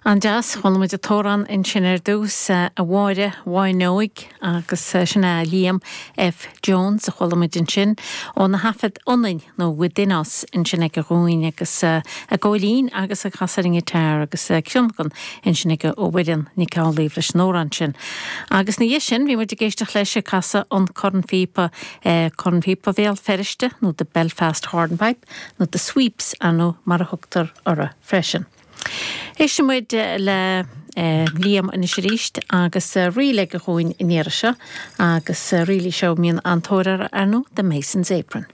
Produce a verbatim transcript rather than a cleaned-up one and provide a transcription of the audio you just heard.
An-deas, chuala muid an t-amhrán ansin ar dtús a Mháire Bháinneoig agus sin é Liam F. Jones a chuala muid ansin óna thaifead Ionainn nó Within Us ansin aige dhúinn agus ag veidhlín agus ag casadh ar an ngiotár agus tionlacan ansin aige ó Mhuireann Nic Amhlaoibh leis an amhrán sin. Agus ina dhiaidh sin bhí muid ag éisteacht leis ag casadh an cornphíopa cornphíopa Bhéal Feirste nó the Belfast Hornpipe nó the Sweeps nó mar a thugtar orthu freisin. Éistfidh muid le eh, Liam anois arís agus ríl aige dhúinn an iarraidh seo agus ríl í seo mbíonn an-tóir uirthi ar ndóigh The Mason's Apron.